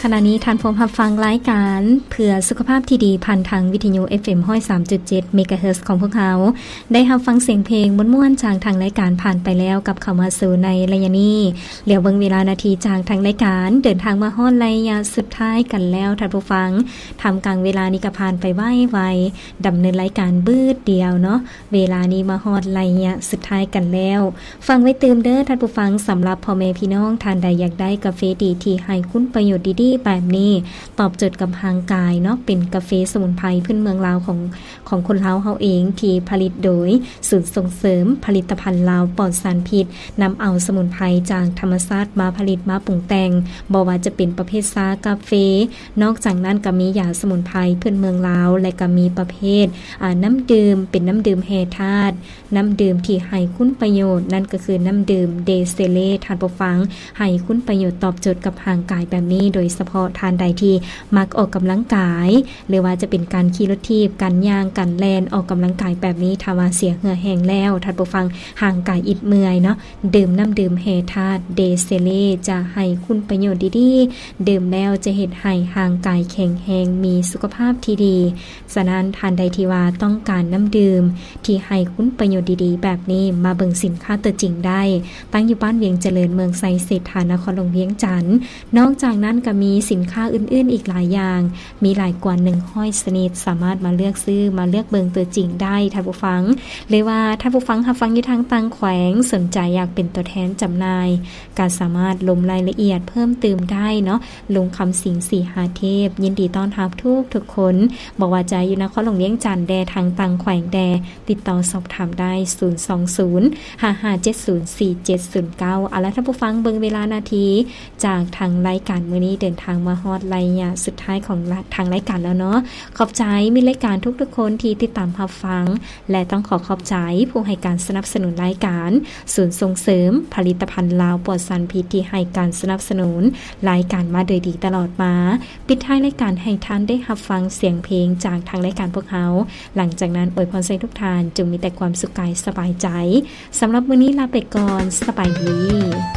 ຂະນະນີ້ທ່ານພວມຮັບຟັງລາຍການເພື່ອສຸຂະພາບທີ່ດີ ຜ່ານທາງວິທະຍຸ ເອັຟເອັມ ຮ້ອຍສາມຈຸດເຈັດ ເມກາເຮີດ ຂອງພວກເຮົາ. ໄດ້ຮັບຟັງສຽງເພງມ່ວນໆ ຈາກທາງລາຍການຜ່ານໄປແລ້ວ ກັບເຂົ້າມາສູ່ໃນໄລຍະນີ້. ຫຼຽວເບິ່ງເວລານາທີຈາກທາງລາຍການ ເດີນທາງມາຮອດໄລຍະສຸດທ້າຍກັນແລ້ວທ່ານຜູ້ຟັງ. ທ່າມກາງເວລານີ້ກໍຜ່ານໄປໄວໆ ດຳເນີນລາຍການບຶດດຽວເນາະ. ເວລານີ້ມາຮອດໄລຍະສຸດທ້າຍກັນແລ້ວ. ຟັງໄວ້ຕື່ມເດີທ່ານຜູ້ຟັງ, ສຳລັບພໍ່ແມ່ພີ່ນ້ອງທ່ານໃດຢາກໄດ້ກາເຟດີທີ່ໃຫ້ຄຸນປະໂຫຍດດີໆແບບນີ້ ຕອບໂຈດກັບຮ່າງກາຍເນາະ, ເປັນກາເຟສະໝຸນໄພພື້ນເມືອງລາວຂອງ ຂອງຄົນລາວເຮົາເອງ ທີ່ຜະລິດໂດຍສູນສົ່ງເສີມຜະລິດຕະພັນລາວປອດສານພິດ, ນຳເອົາສະໝຸນໄພຈາກທຳມະຊາດມາຜະລິດມາປຸງແຕ່ງ, ບໍ່ວ່າຈະເປັນປະເພດຊາ, ກາເຟ, ນອກຈາກນັ້ນກໍມີຢາສະໝຸນໄພພື້ນເມືອງລາວ ແລະ ກໍມີປະເພດ ອາ ນ້ຳດື່ມ ເປັນນ້ຳດື່ມແຮ່ທາດ, ນ້ຳດື່ມທີ່ໃຫ້ຄຸນປະໂຫຍດ ນັ້ນກໍຄືນ້ຳດື່ມເດເຊເລ ທ່ານຜູ້ຟັງ, ໃຫ້ຄຸນປະໂຫຍດຕອບໂຈດກັບຮ່າງກາຍແບບນີ້. ໂດຍສະເພາະທ່ານໃດທີ່ມັກອອກກຳລັງກາຍ ຫຼືວ່າຈະເປັນການຂີ່ລົດຖີບ, ການຍ່າງ, ການແລ່ນ, ອອກກຳລັງກາຍແບບນີ້, ຖ້າວ່າເສຍເຫື່ອແຮງແລ້ວ ທ່ານຜູ້ຟັງ, ຮ່າງກາຍອິດເມື່ອຍເນາະ, ດື່ມນ້ຳດື່ມແຮ່ທາດເດເຊເລ ຈະໃຫ້ຄຸນປະໂຫຍດດີໆ, ດື່ມແລ້ວຈະເຮັດໃຫ້ຮ່າງກາຍແຂງແຮງ, ມີສຸຂະພາບທີ່ດີ. ສະນັ້ນ ທ່ານໃດທີ່ວ່າຕ້ອງການນ້ຳດື່ມທີ່ໃຫ້ຄຸນປະໂຫຍດດີໆແບບນີ້, ມາເບິ່ງສິນຄ້າຕົວຈິງໄດ້, ຕັ້ງຢູ່ບ້ານວຽງຈະເລີນ, ເມືອງໄຊເສດຖາ, ນະຄອນຫຼວງວຽງຈັນ. ນອກຈາກນັ້ນກໍມີສິນຄ້າອື່ນໆອີກຫຼາຍຢ່າງ, ມີຫຼາຍກວ່າໜຶ່ງຮ້ອຍຊະນິດ, ສາມາດມາເລືອກຊື້, ມາເລືອກເບິ່ງຕົວຈິງໄດ້, ທ່ານຜູ້ຟັງ. ຫຼືວ່າທ່ານຜູ້ຟັງຮັບຟັງຢູ່ທາງຕ່າງແຂວງ, ສົນໃຈຢາກເປັນຕົວແທນຈຳໜ່າຍ, ກໍສາມາດລົມລາຍລະອຽດເພີ່ມຕື່ມໄດ້ເນາະ. ລຸງຄຳສິງ ສີຫາເທບ ຍິນດີຕ້ອນຮັບທຸກໆຄົນ, ບໍ່ວ່າຈະຢູ່ນະຄອນຫຼວງວຽງຈັນແດ່, ທາງຕ່າງແຂວງແດ່, ຕິດຕໍ່ສອບຖາມໄດ້ ສູນສອງສູນ ຫ້າຫ້າເຈັດສູນ ສີ່ເຈັດສູນເກົ້າ. ເອົາລະ ທ່ານຜູ້ຟັງ, ເບິ່ງເວລານາທີຈາກທາງລາຍການມື້ນີ້ ເດີນທາງມາຮອດໄລຍະສຸດທ້າຍຂອງລະ ທາງລາຍການແລ້ວເນາະ. ຂອບໃຈມິດລາຍການທຸກໆຄົນທີ່ຕິດຕາມຮັບຟັງ ແລະ ຕ້ອງຂໍຂອບໃຈຜູ້ໃຫ້ການສະໜັບສະໜູນລາຍການ, ສູນສົ່ງເສີມຜະລິດຕະພັນລາວປອດສານພິດ ທີ່ໃຫ້ການສະໜັບສະໜູນລາຍການມາໂດຍດີຕະຫຼອດມາ. ປິດທ້າຍລາຍການໃຫ້ທ່ານໄດ້ຮັບຟັງສຽງເພງຈາກທາງລາຍການພວກເຮົາ. ຫຼັງຈາກນັ້ນ ອວຍພອນໃຫ້ທຸກທ່ານຈົ່ງມີແຕ່ຄວາມສຸກກາຍສະບາຍໃຈ. ສຳລັບມື້ນີ້ລາໄປກ່ອນ. ສະບາຍດີ.